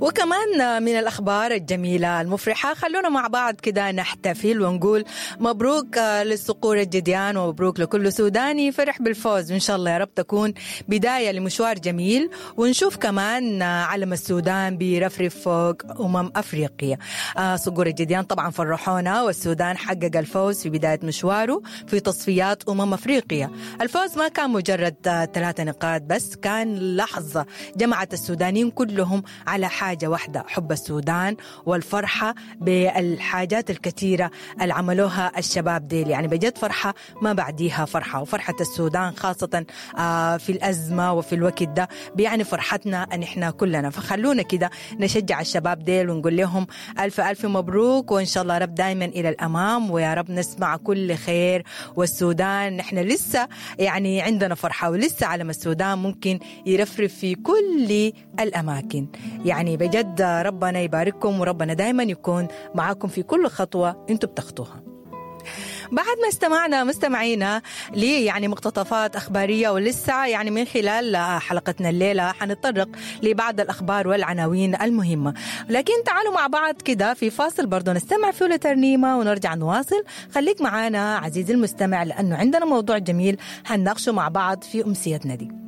وكمان من الأخبار الجميلة المفرحة، خلونا مع بعض كده نحتفل ونقول مبروك للصقور الجديان، ومبروك لكل سوداني فرح بالفوز، وإن شاء الله يا رب تكون بداية لمشوار جميل، ونشوف كمان علم السودان بيرفرف فوق أفريقيا. صقور الجديان طبعا فرحونا، والسودان حقق الفوز في بداية مشواره في تصفيات أفريقيا. الفوز ما كان مجرد 3 نقاط بس، كان لحظة جمعت السودانيين كلهم على حاجة واحدة، حب السودان والفرحة بالحاجات الكثيرة اللي عملوها الشباب ديل. يعني بجد فرحة ما بعديها فرحة، وفرحة السودان خاصة في الأزمة وفي الوقت ده بيعني فرحتنا أن إحنا كلنا. فخلونا كده نشجع الشباب ديل ونقول لهم ألف ألف مبروك، وإن شاء الله رب دايما إلى الأمام، ويا رب نسمع كل خير. والسودان نحن لسه يعني عندنا فرحة، ولسه علم السودان ممكن يرفرف في كل الأماكن. يعني بجد ربنا يبارككم، وربنا دايما يكون معاكم في كل خطوة انتوا بتخطوها. بعد ما استمعنا مستمعينا لي يعني مقتطفات أخبارية، ولسه يعني من خلال حلقتنا الليلة حنتطرق لبعض الأخبار والعناوين المهمة، لكن تعالوا مع بعض كده في فاصل برضو نستمع فيه لترنيمة ونرجع نواصل. خليك معانا عزيزي المستمع، لأنه عندنا موضوع جميل هنناقشه مع بعض في أمسيتنا دي.